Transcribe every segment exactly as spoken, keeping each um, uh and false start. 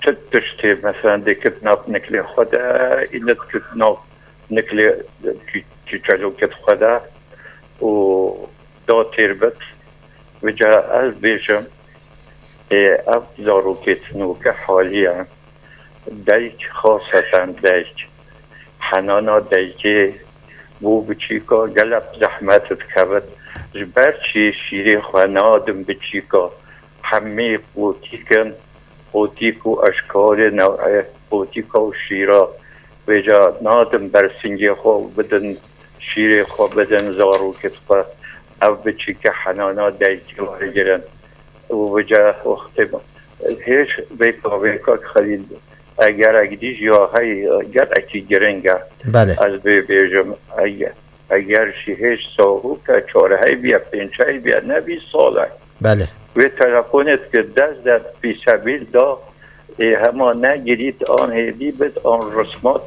Ti tiştê, mesela, dikit nav niklê xwe de, îne dikit nav niklê çî-, çîçelokê xwe de û da têr bit. Vêca ez bêjim, ê, ev zarokê tinûke haliye, dayik, xaseten dayik, henana dayikê bo biçîka gelek zehmet dikevit. Ji ber çi şîrê xwe nadin biçîka? Hemî qotîk in, qotîk û eşkarê new'ê qotîka û şîra. Vêca nadin bersingê xwe û bidin, şîrê xwe bidin zarokê xwe. Ev biçîke henana dayikê werigirin. Û vêca wextê hêj vêka vêka Xelîl, eger ek dî jî ya hey gelekî giring e. Belê. Ez bê bêjim, eger, eger jî hêj sahûke çar hey biye, pênc hey biye, ne vî sal e. Belê. Wê telefonê dike dest de pîsebîl da, ê hema negirît an hêdî bit an rismat,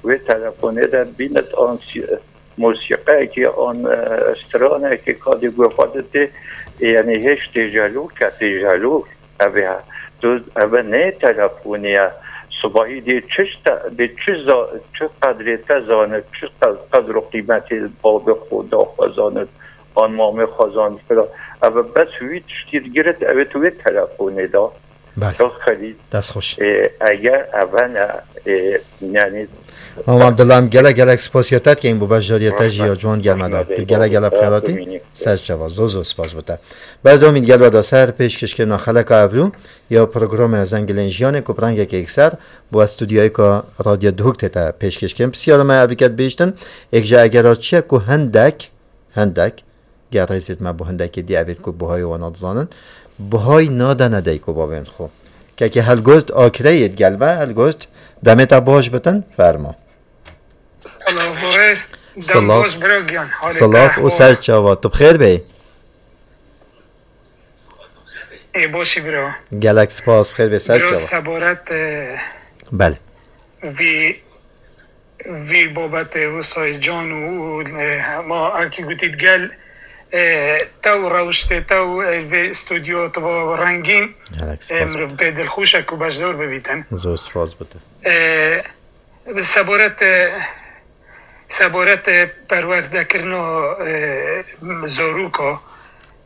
wê telefonê de bînit an sî-, mosîqeyekê an, e, stranekê kadê guh xwe didê, ê, yanî hêj têjelo ke têjelo. Ev ê, tu, ev ne telefonê ye. Sibahî dê çi te, dê çi za-, çi qedrê te zanit, çi qe-, qedr û qîmetê babê xwe da xwe zanit, an mamê xwe zanit filan. Ev bes wî tiştî digirit, ev ê tu wê telefonê da. Belê. Çok Xelîl. Dest xweş. E, eger ev ne, e, yani Mam Abdullah, em gelek gelek spasiya te dikin bo beşdariyê te jî ya ciwan gel me da. Tu gelek gelek bi xêr hatî. Ser çava. Zor zor spas bo te. Berdewamî digel we de ser pêşkêşkirina xeleka evro ya programa Zengilên Jiyanê ku bi rengekê yekser bo stûdyoyeka Radyo Duhok tête pêşkêşkirin. Pisyara me evî ke dibêjtin, êk ji egera çi ye ku hindek, hindek, ger rêzê me bo hindekê dî evêt ku buhayê wana dizanin, buhay nadene dayik û bavên xwe. Kekê Helgost Akreyê digel me, Helgost, demê te baş bitin, fermo. Silav û rêz, dem Silav. Baş biro giyan. Halê Silav te û ser çava, tu bi xêr bê? Ê boşî biro. Gelek spas, bi xêr bê, ser çava. Biro seboret, e, Belê. Vî, vî babetê Wusay Can û, e, hema erkî gotî digel, e, tew rewştê tew, e, vê stûdyo tiva rengîn, Gelek e, spas. Mirov bê dilxweş e ku beşdar bibîtin. Zor spas bo te. E, Seboret, e, seboret, e, perwerdekirina, e, zaroka,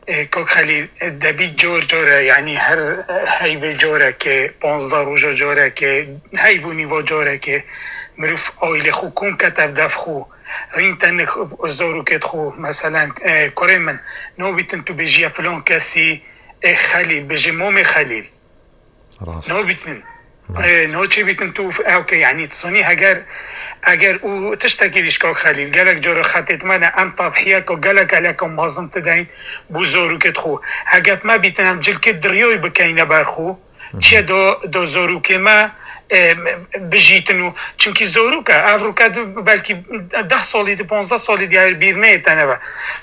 e, Kak Xelîl, e, debî car care, yanî her heyvê careke, panzdeh roja careke, heyv û nîva careke, mirov aîlê xwe kom ket ev def xwe, rîn tenik zarokêt xwe, meselen, e, kurê min, nabîtin tu bêjî ya filan kesî, e, Xelîl, bêjê mamê Xelîl. Rast. Nabîtin. Rast. E, no çêbîtin tu, e, okey, yanî tu zanî heger, eger û tiştekî dî ji Kak Xelîl, gelek cara xetêt me ne, em tadhiyeka gelek geleka mezin tideyn bo zarokêt xwe. Heger me bîtin em cilkê diriyayî bikeyne ber xwe, çiye do, do zarokê me, e, bijîtin û, çimkî zarok e, ev roke du, belkî deh salî di, panzdeh salî dî bîr neyê te nebe.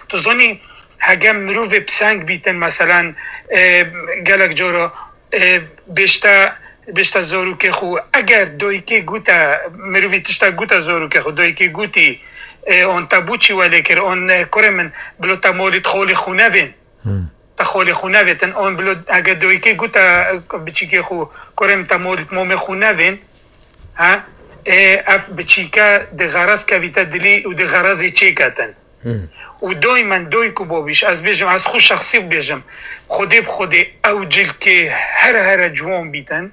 Tu zanî, heger mirovê piseng bîtin, meselen, e, gelek cara, e, bêşte, bêşte zarokê xwe. Eger dayikê gote, mirovî tiştek gote zarokê xwe, dayikê gotî, e, on te bo çi welê kir, on, e, kurê min, bilo te malî xalê xwe nevên. Hmm. Te xalê xwe nevêtin, on bilo, eger dayikê gote, e, biçîkê xwe, kurê min te malî mamê xwe nevên, ha? E, ev biçîke di xerez kevîte dilî û di xerezê çêketin. Hmm. Û doymen doy ku bobîş, ez bêjim, ez xwe şexsî bêjim, Xwedê bi Xwedê ew cilkê here here ciwan bîtin,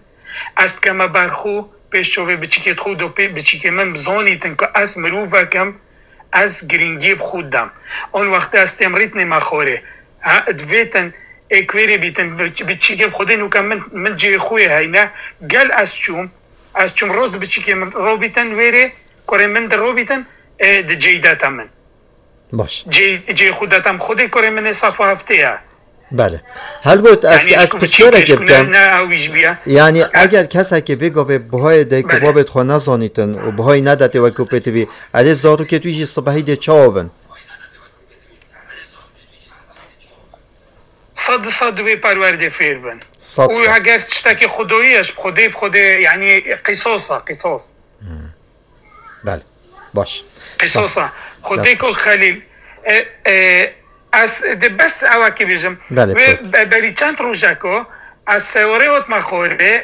ez dikeme ber xwe, pêş çavê biçikê xwe, do pê biçikê min bizanîtin ku ez mirovek im, ez girîngiyê bi xwe didem. On wextê ez têm rîtnê me xorê. Ha, divêtin ê ku wêrê bîtin, biç-, biçikê bi Xwedê nûke min, min cihê xwe yê heyne, gel ez çûm, ez çûm roz di biçikê min robîtin wêrê, kurê min di robîtin, ê, di cêy dete min. Baş. Cê, cê xwe detem xwedê kurê min ê safa heftê ye. Belê. Helgot, ez, Yanî ez ji ku pisyarek biçîkê, ji ku ne, bikim. Ne ew îş biye. Yanî Ha? Eger kesekê vê gavê buhayê dê ku Belê. Babê xwe nezanîtin û buhayî nedetê wekî pêtivî, erê zarokê wî jî sibehî dê çawa bin? Sed di sed wê perwerdê fêr bin. Sed Û sed. Eger tiştekî xwedayî ye, ji xwedê bi xwedê, yanî qîsos e, qîsos. Belê. Baş. Qîsosa. Xwedê Baş. Kok Xelîl. E, e, ez de bes ewekî bêjim. Belê, Wê pêt. be-, berî çend rojeko ez sewarê hotme xorê,